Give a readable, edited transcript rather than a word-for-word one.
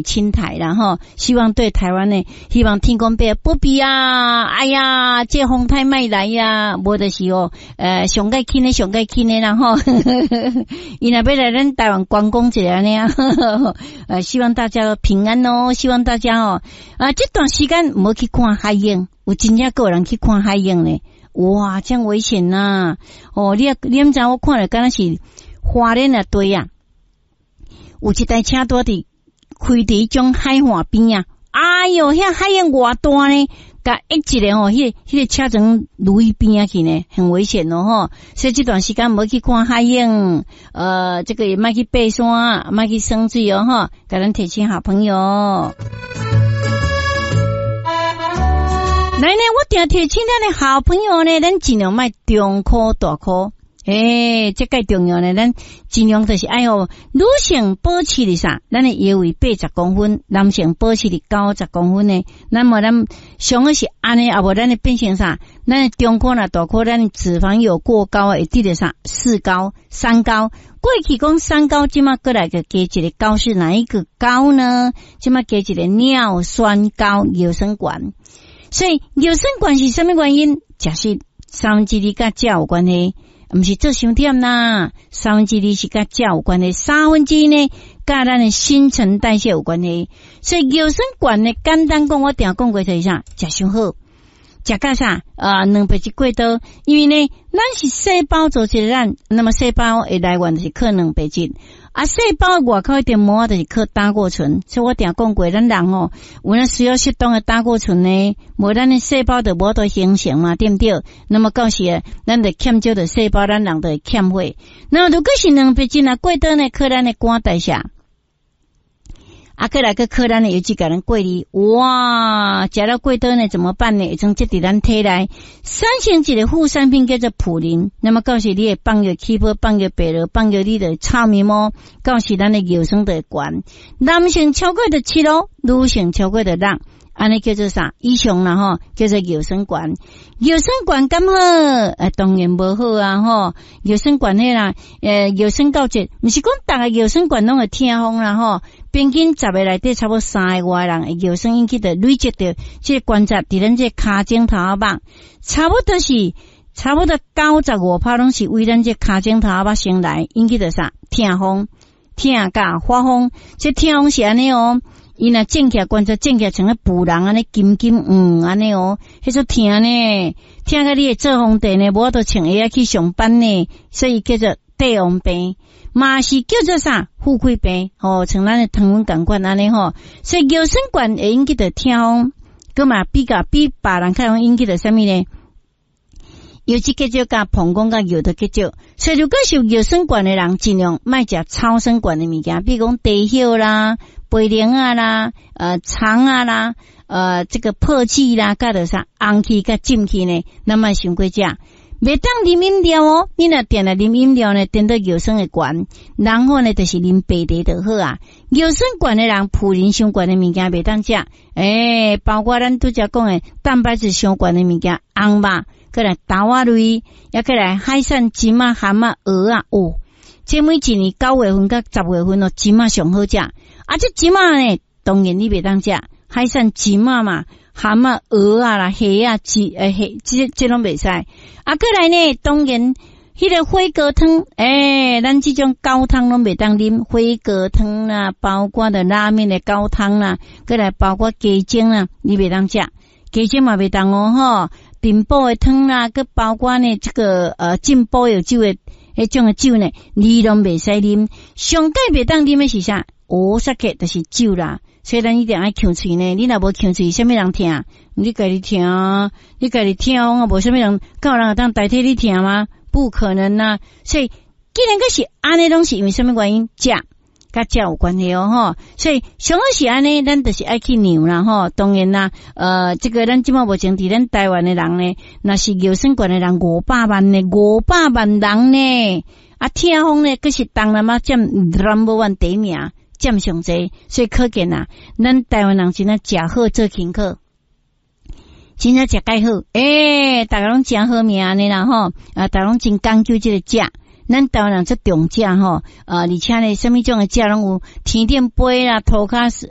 侵台啦吼，希望對台灣呢，希望天公伯保庇啊！哎呀，這風颱莫來呀，無就是哦，上蓋輕的上蓋輕的啦吼，伊若欲來咱台灣觀光一下按呢啊，希望大家都平安哦，希望大家哦，啊，這段時間毋好去看海湧，有真正閣有人去看海湧呢，哇，這樣危險吶！哦，你毋知我看了敢若是花蓮的對啊，有一台車拄佇開佇彼種海岸邊啊，哎喲，遐海湧偌大呢，共一個吼，彼個車船攄去邊仔去呢，很危險哦吼。所以這段時間毋好去看海湧，這個也莫去爬山，莫去耍水哦吼，共咱提醒好朋友。來呢，我定提醒咱的好朋友呢，咱盡量莫中箍大箍。欸，這蓋重要呢，咱盡量就是愛予女性保持佇啥？咱的腰圍80公分，男性保持佇90公分呢。那麼咱上好是按呢，啊無咱會變成啥？咱的中箍若大箍，咱脂肪有過高，會得著啥？四高、三高。過去講三高，這馬閣來閣加一個高是哪一個高呢？這馬加一個尿酸高、尿酸懸。所以尿酸懸是啥物原因？食食2/3佮食有關係。毋是做傷忝啦，2/3是佮食有關係，1/3呢，佮咱的新陳代謝有關係。所以尿酸懸呢，簡單講，我定講過就是啥，食傷好，食甲啥啊？蛋白質過多，因為呢，咱是細胞組織咱，那麼細胞的來源就是靠蛋白質。啊，細胞外口的膜就是靠膽固醇，所以我定講過，咱人吼有影需要適當的膽固醇呢，無咱的細胞就無法度形成嘛，對毋對？那麼到時咱就欠少著細胞，咱人就會欠血。那麼如果是蛋白質若過多呢，靠咱的肝代謝。啊，閣來閣靠咱的油脂共咱過濾，哇，食了過多呢怎麼辦呢？會當積佇咱體內，產生一個副產品叫做普林。那麼到時你會放藥起泡，放藥白落，放藥你就臭面毛，到時咱的尿酸就會懸。男性超過著7咯，女性超過著6，按呢叫做啥？以上啦吼，叫做尿酸懸。尿酸懸敢好？當然無好啊吼。尿酸懸彼啦，尿酸到這，毋是講逐个尿酸懸攏會痛風啦吼。平均10個內底差不多3個外人會尿酸引起著累積著這個關節佇咱這跤踭頭仔肉，差不多95%攏是為咱這跤踭頭仔肉先來引起著啥？痛風、痛佮發風，這痛風是按呢哦。伊若腫起來關節腫起來，像咧捕人按呢金金黃按呢哦，彼種疼呢，疼甲你會做皇帝呢，無法度穿鞋仔去上班呢，所以叫做帝王病，嘛是叫做啥富貴病吼，像咱的糖分仝款按呢吼，所以尿酸懸會引起著痛風，閣嘛比較比別人較容易引起著啥物呢？油脂結石佮膀胱佮尿道結石，所以如果是有尿酸懸的人，盡量莫食草酸懸的物件，比如講茶葉啦、白蓮仔啦、腸仔啦、這個泡子啦，佮著啥紅氣佮浸氣呢，咱莫傷過食。袂當啉飲料哦，你若定定啉飲料呢，顛倒尿酸會懸，然後呢，就是啉白茶就好啊。尿酸懸的人，普林傷懸的物件袂當食，包括咱拄才講的蛋白質傷懸的物件，紅肉，閣來豆仔類，抑閣來海產、蟳仔、蚶仔、蚵仔，哦，這每一年9月份佮10月份哦，蟳仔上好食。啊，這蟳仔呢，當然你袂當食，海產蟳仔嘛，蚶仔、蚵仔啦、蝦仔、蝦，這攏袂使。啊，閣來呢，當然，彼個火鍋湯，咱這種高湯攏袂當啉，火鍋湯啦，包括著拉麵的高湯啦，閣來包括雞精啦，你袂當食，雞精嘛袂當哦吼。燉補的湯啦，閣包括呢，這個進補藥酒的彼種的酒呢，你攏袂使啉。上蓋袂當啉的是啥？烏沙克就是酒啦。所以咱一定愛劊喙呢。你若無劊喙，啥物人疼？你家己疼，你家己疼，啊，無啥物人，敢有人會當代替你疼嗎？不可能啊！所以，既然閣是按呢，攏是因為啥物原因？食佮食有關係哦，吼。所以上好是按呢，咱就是愛去量啦，吼。當然啦，這個咱這馬目前佇咱台灣的人呢，若是尿酸懸的人500萬呢，500萬人呢，啊，痛風呢，閣是東南亞佔 number one 第一名，佔上濟，所以可見啊，咱台灣人真正食好做輕可，真正食蓋好，逐家攏誠好命按呢啦吼，啊，逐家攏真講究這個食。咱台灣人足重食吼，而且呢，啥物種的食攏有，天頂飛啦，塗跤塗。